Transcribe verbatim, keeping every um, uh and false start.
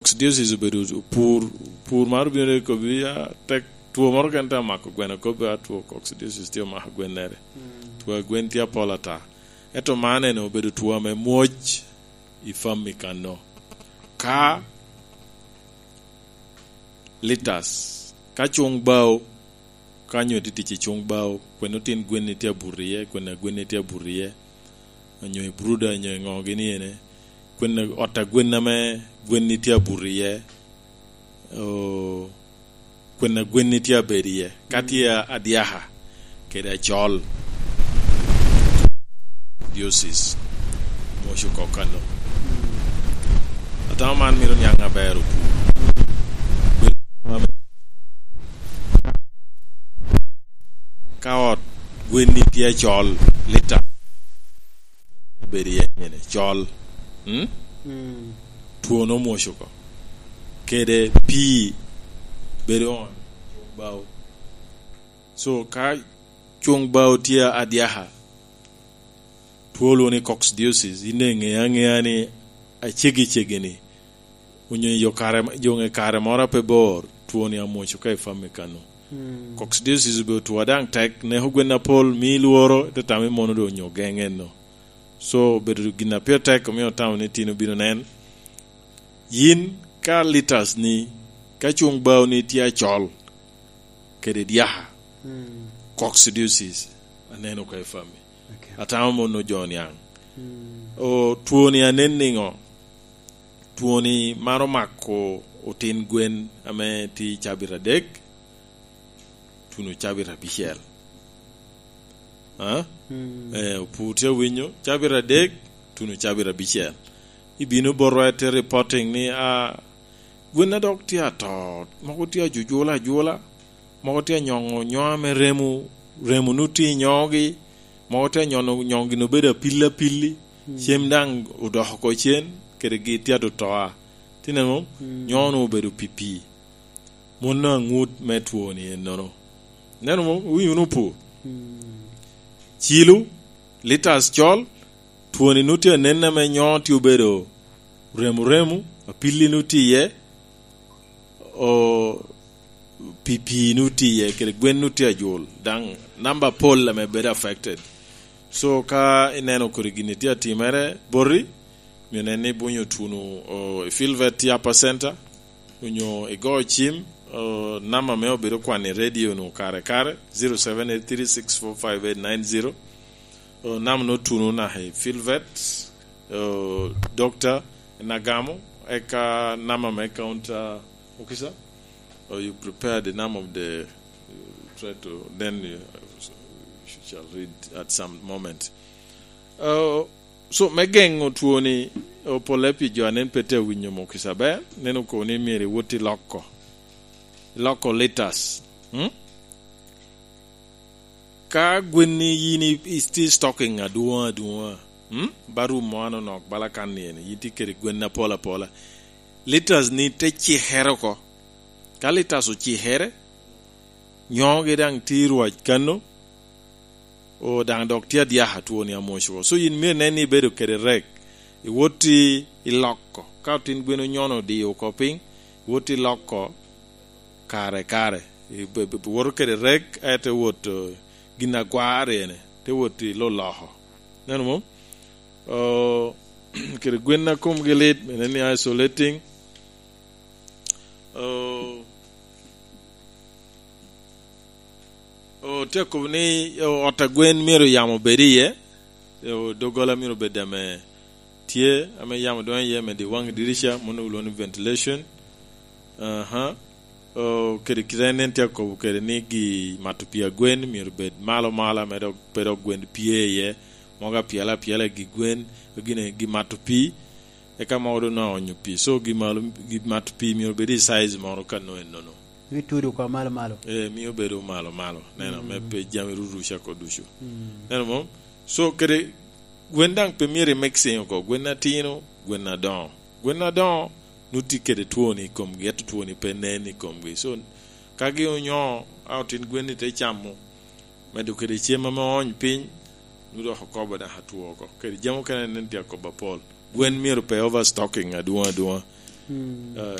Coccidiosis obedo pur, pur mar obino de kobbi, a, tek two moro kene tye amako gweno, kobbi a two coccidiosis tye omako gwennere. Mm. Two a gwen tye apol ata. Ento man ene obedo two ame mwoc i fam i kano. Ka litas, ka cuŋ bao, ka nyo tye tic i cuŋ bao, kwene otin gwenni tye abuto iye, kwene a gwenni tye abuto iye, onyo i bruda, onyo i ŋo gini ene, kwene ot a gwen ame gwenni tye abuto iye, o, kwene a gwenni tye abedo iye, ka tye a-, adyaka kede acol. Diosis, mwoco oko kano. Atamo man mito niaŋ aber opur. Ka ot gwenni tye acol, lita bedo iye nyene, col. Mm? Mm. Twon omwoco oko. Kede pii bedo on, cuŋ bao. So, ka cuŋ bao tye adyaka, two olwoŋo ni coccidiosis, in eŋe aŋea ni aceggi ceggi ni, onyo i yo kare, yo ŋe kare moro a pe bor, twoni amwoco ka i fam i kano. Mm. Coccidiosis obedo two a daŋ tek, neko gwen apol, mii lworo, ite tamo ni mono doŋ onyo geŋ eno. So, obedo gin a pire tek, omio otamo ni tin obino nen. Yin ka litas ni, ka cuŋ bao ni tye acol, kede dyaka, mm, coccidiosis, aneno ka i fam i. Okay. Atamo mono jo niaŋ. Mm. O, twoni anen niŋo? Twoni maro mako otin gwen ame tye i cabit adek, tuno cabit abicel. A? Mm. Eh, opur tye awinyo, cabit adek, tuno cabit abicel. Ibino botwa ite reporting ni, a, gwen a dok tye ato, mogo tye ajujula ajula, mogo tye anyoŋo nyoŋa me remo, remo nu tye i nyoŋogi, mogo tye anyoŋo, nyoŋogi nu bedo apil apilli, mm, cem daŋ odoko oko cen, kede gi tye atotoa. Tye neno, mm, nyoŋo nu obedo pii pii. Mono aŋut me twoni ennono. Neno mo, owinyo wunu opur. Mm. Cilu, litas col, twoni nu tye anen ame nyoŋo tye obedo remu remu, apilli nu tye iye, o, pii pii nu tye iye, kede gwen nu tye ajul. Daŋ namba apol ame bedo affected. So, ka ineno kodi gin tye atimere boti, myero nen ni ibunyo twoni, o, i Field Vet tye Upper Center, onyo igo cim, o, namba me obedo kwan i radio-nu kare kare, zero seven eight three six four five eight nine zero. O, namba no twoni naka i Field Vet, o, Doctor Nagamo, eka namba me counter, Mukisa? O, you prepare the name of the, uh, try to, then you, you shall read at some moment. O, So, me geŋo twoni, o, pole pi jo a nen pe tye awinyo Mukisa ber, nen okobo ni myero iwot i loko, i loko litas. Hmm? Ka gwenni yin i, i, tye stocking adwoŋ adwoŋa, hmm? Ba rum mo anonok bala kan ni eni, yin tye kede gwen apol apola. Litas ni te cikere oko. Ka litas ocikere, nyoŋogi daŋ tye i rwac kano, o, daŋ dok tye adyaka twoni amwoc oko. So, yin myero inen ni ibedo kede rek, iwot i, i loko. Ka otin gwen onyono odiyo oko piny, iwot i loko kare kare. I, be, be, be woto kede rek, ento iwot, o, gin agwar ene, te wot i lo loko. Neno mo? O, kede gwen a komgi lit, inen ni isolating. O, O, tye akobo ni, o, ot a gwen myero yamo bed iye, o, doggola myero bed ame tye, ame yamo donyo iye, ame di waŋ dirica, mano olwoŋo ni ventilation. Aha. O, kede kite en, en tye akobo kede ni gi mato pii a gwen myero bed malo malo, ame dok pe dok gwen pye iye, mogo apyela apyela i gi gwen, gine gi mato pii, eka mogo doŋ nongo onyo pii. So, gi malo, gi mato pii myero bed i size moro ka nongo ennono. Mio tudo oko malo malo. Eh, mio bedo malo malo. Neno, mm, me pe jami ruruca oko ducu. Mm. Neno mo? So, kede gwen daŋ pe myero i mixing oko. Gwen atino, gwen adoŋo. Gwen adoŋo, nu tye kede twoni i komgi, ento twoni pe nen i komgi. So, ka gi onyo, a otin gwen ni te camo, medo kede cem ame oony piny, nu dok okobo daŋ atwo oko. Kede jami okene nen tye akobo apol. Gwen myero pe overstocking adwoŋ adwoŋa. Mm. Eh,